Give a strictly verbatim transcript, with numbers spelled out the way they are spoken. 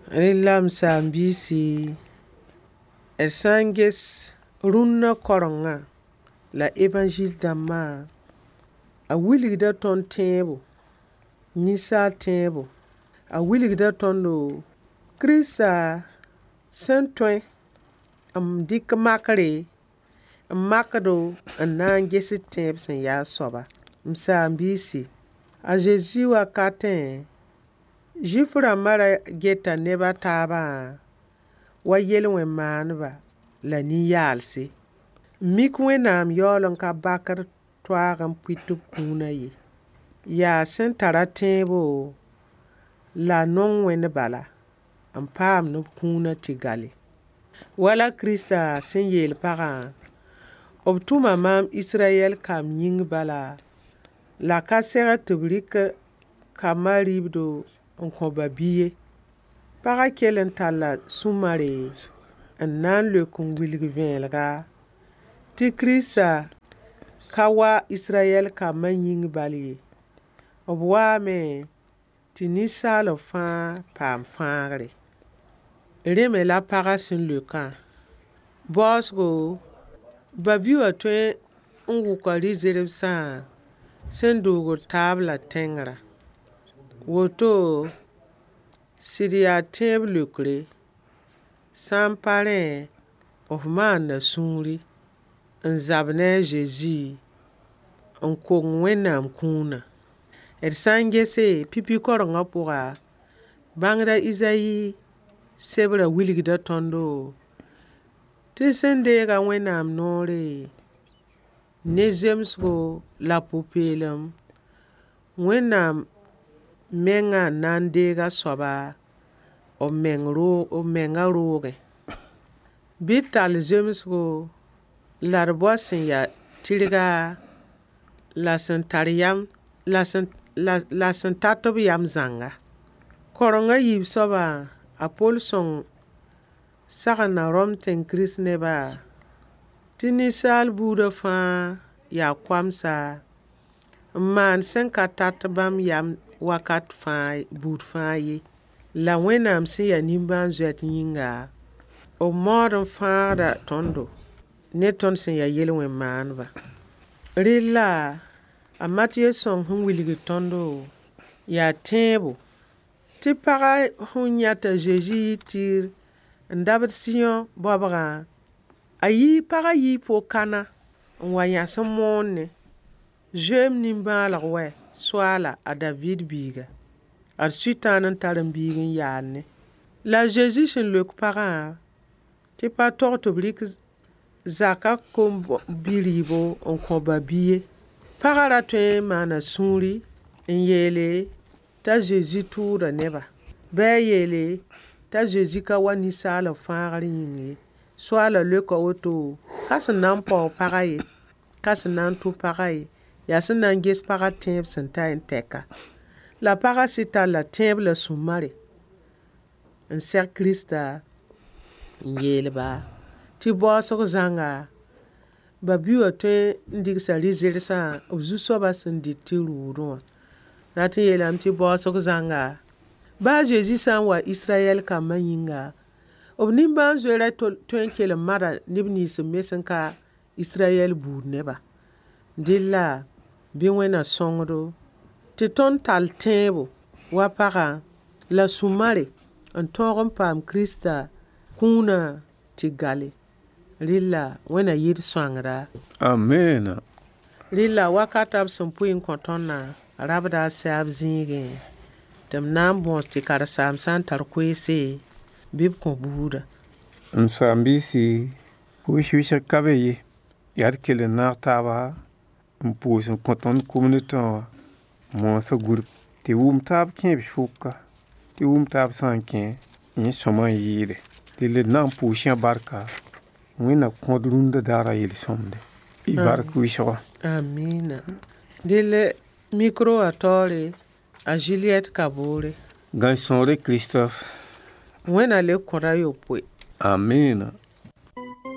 Rẽ la m saam-biisi, d sã n ges rũnnã korengã la évangile dãmbã, a wilgda tõnd tẽebo, ninsaal tẽebo. A wilgda tõndo Kirista sẽn tõe n dɩk makre n makdo n na n ges d tẽeb sẽn yaa a soaba. M saam-biisi, a Zezi wakatẽ, Zʋɩf rãmbã ra geta neb a taabã wa yel-wẽn-maandba la nin-yaalse. N mik Wẽnnaam yaool n ka bakd toaag n pʋɩ tɩ b kũunã ye. Yaa sẽn tara tẽebo la a nong Wẽnd bala n paamd b kũunã tɩ gale. Wala Kirista sẽn yeel pagã, b tʋma maam Israyɛl kamb yĩng bala, la ka segd tɩ b rɩk kambã rɩɩbdo n kõ ba-bi ye. Pagã kell n talla sũ-mare n na n leok n wilg vẽelega tɩ Kirista ka wa Israyɛl kambã yĩng bal ye. B waame tɩ ninsaalb fãa paam fãagre. Rẽ me la pagã sẽn leokã. Baoosgo, ba-bi wã tõe n wʋka rɩ-zerbsã sẽn doogd taab la tẽngrã. Woto, sɩd yaa tẽeb leokre, sã n pa rẽ, f maanda sũuri n zab ne a Zezi n kong Wẽnnaam kũunã. D sã n gese, pipi korengã pʋga, bãngd a Izayi sebrã wilgda tõndo tɩ sẽn deega Wẽnnaam noore ne zemsgo la pʋ-peelem, Wẽnnaam mengã n na n deeg a soaba b meng roog b mengã roogẽ. Bɩ d tall zemsgo la d bao sẽn yaa tɩrga la sẽn tar yam la sẽn la sẽn tat b yam zãnga. Koreng a yiib soabã, a Pol sõng sagenda Rom tẽng Kirist-nebã tɩ ninsaal buudã fãa yaa koamsa n maan sẽn ka tat bãmb yam wakat fãa buud fãa ye. La Wẽnnaam sẽn yaa nimbãan-zoet yĩnga, b maood n fãagda tõndo ne tõnd sẽn yaa yel-wẽn-maandbã. Rella, a Matiye sõng sẽn wilgd tõndo yaa tẽebo tɩ pagã sẽn yã t'a Zezi yɩ Tɩɩr n dabd Sɩyõ baobgã, a yii pagã yii fo-kãna n wa yãs n moonẽ: Zoe-m nimbãaneg wɛ, Soaala, a Daviid biiga. Ad Sʋtãan n tar m biig n yaadnẽ. La a Zezi sẽn leok pagã tɩ pa tog tɩ b rɩk zakã kom-bi-rɩɩbo n kõ ba-bi ye. Pagã ra tõe n maana sũuri n yeele t'a Zezi tʋʋda neba. Bɩ a yeele t'a Zezi ka wa ninsaalb fãagr yĩng ye. Soaalã leoka woto, ka sẽn na n paoog pagã ye, ka sẽn na n tʋ pagã ye, yaa sẽn na n ges pagã tẽeb sẽn ta n tɛka. La pagã sɩd talla tẽeb la sũ-mare n seg Kirista n yeel-ba tɩ baoosg zãnga, ba-bi wã tõe n dɩgsa rɩ-zersã b zu-soabã sẽn dɩt tɩ rʋʋdẽ wã. Rat n yeelame tɩ baoosg zãnga, baa a Zezi sã n wa Israyɛl kambã yĩnga, b nimbãan-zoeerã tõe n kell n mada neb nins me sẽn ka Israyɛl buud nebã. Dɩlla bɩ Wẽnna sõngdo tɩ tõnd tall tẽebo wa pagã la sũ-mare n tõog n paam Kirista kũunã tɩ gale. Rella Wẽnna yɩ d sõangda. Amina. Rella wakata b sẽn pʋɩ n kõ tõndã rabda a saab zĩigẽ tɩ m na n bõos tɩ karen-saamb sã n tar koeese bɩ b kõ buudã. M saam-biisi, pʋʋs wɩsg ka be ye. Yaa d kell n naag taaba n pʋʋs n kõ tõnd kumd tõe wã moosã gũrb tɩ wʋm taab kẽeb sʋka tɩ wʋm taab sã n kẽ yẽ sõma n yɩɩde dɩl d na n pʋʋs yã barka Wẽnna kõd rũndã daarã yel-sõmde y bark wɩsgɔ. Amina. Dɩl micro wã taoore a Juliette Kaboore. Gãn-sõore Christophe. Wẽnna le kõda yopoe. Amina.